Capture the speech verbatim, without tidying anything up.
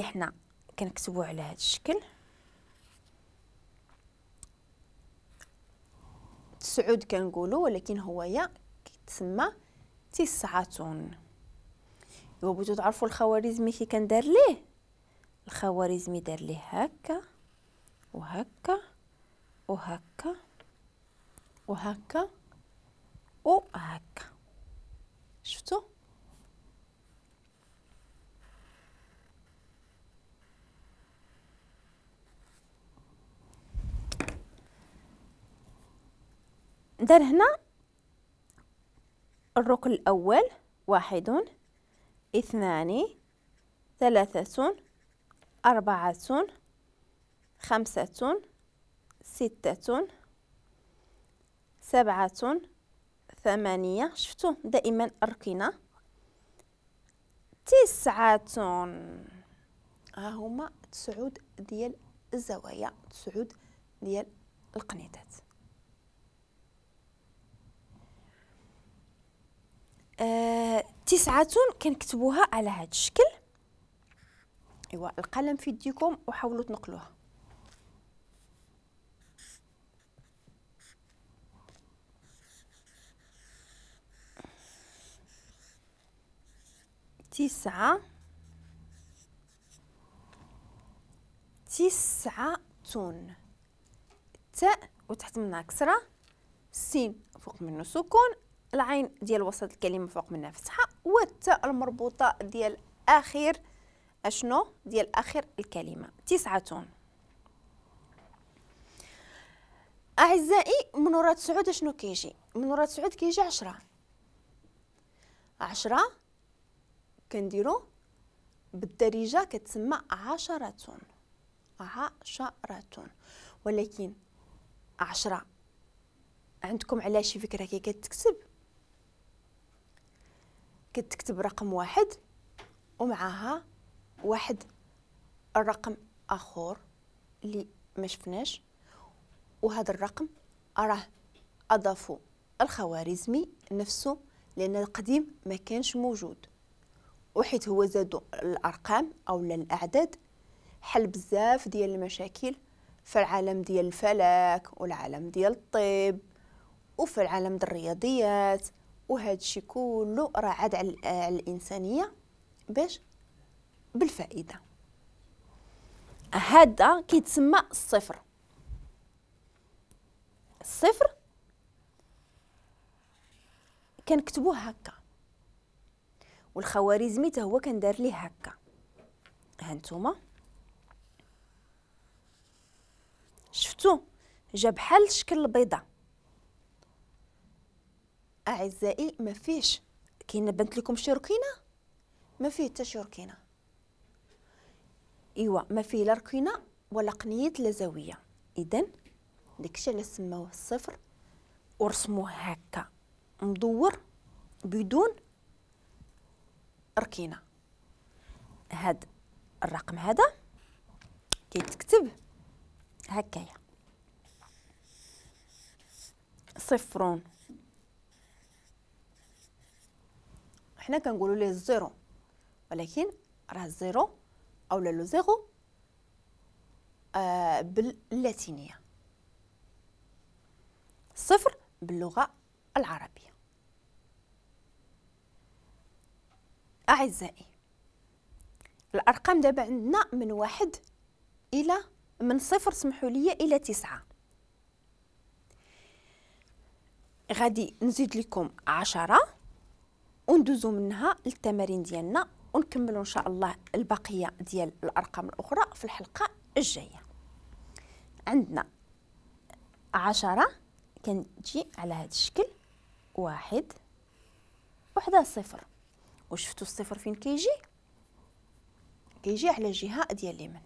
حنا كنكتبوه على هذا الشكل. تسعود كنقولوا، ولكن هو يا كيتسمى تسعة. ايوا بغيتو تعرفوا الخوارزمي كي كندار ليه؟ الخوارزمي دار ليه هكا وهكا وهكا وهكا وهكا. شفتوا؟ دار هنا الركن الأول واحد، اثنان، ثلاثة، أربعة، خمسة، ستة، سبعة، ثمانية. شفتوا دائما الركنة تسعة. ها هما تسعود ديال الزوايا، تسعود ديال القنيطات. آه، تسعة كنكتبوها على هذا الشكل. ايوا القلم في يديكم وحاولوا تنقلوها. تسعة، تسعة، تاء وتحت منها كسرة، سين فوق منه سكون، العين ديال وسط الكلمة فوق منها فتحة، والتاء المربوطة ديال آخر أشنو؟ ديال آخر الكلمة. تسعة. أعزائي من وراء تسعود أشنو كيجي؟ من وراء تسعود كيجي عشرة. عشرة كنديرو بالدارجة كتسمى عشرة، عشرة. ولكن عشرة عندكم على شي فكرة كي كتكتب؟ كتكتب رقم واحد ومعها واحد الرقم آخر اللي ما شفناش، وهذا الرقم راه أضافوا الخوارزمي نفسه لأن القديم ما كانش موجود، وحيت هو زادوا الأرقام أو الأعداد حل بزاف ديال المشاكل في العالم ديال الفلك والعالم ديال الطب وفي العالم ديال الرياضيات، وهذا الشيء كله راه عاد على الإنسانية باش بالفائدة. هذا كيتسمى الصفر. الصفر كنكتبوه هكا، والخوارزمي حتى هو كندار ليه هكا. ها نتوما شفتوا جا بحال شكل البيضة. اعزائي ما فيش كاين، بنت لكم شي ركينه؟ ما فيه حتى شي ركينه. ايوا ما فيه لا ركينه ولا قنيه لا زاوية. اذا داكشي علاش سماوه الصفر ورسموه هكا مدور بدون ركينه. هاد الرقم هذا كيتكتب هكايا صفر، حنا كنقولوا ليه ال zéro، ولكن راه ال zéro او le zéro آه باللاتينيه، صفر باللغة العربية. اعزائي الارقام دابا عندنا من واحد الى من صفر سمحوا لي الى تسعة. غادي نزيد لكم عشرة وندوزو منها للتمارين ديالنا ونكملوا ان شاء الله البقية ديال الارقام الاخرى في الحلقة الجاية. عندنا عشرة كنجي على هذا الشكل، واحد وحده صفر، وشفتوا الصفر فين كيجي؟ كيجي على الجهة ديال اليمين.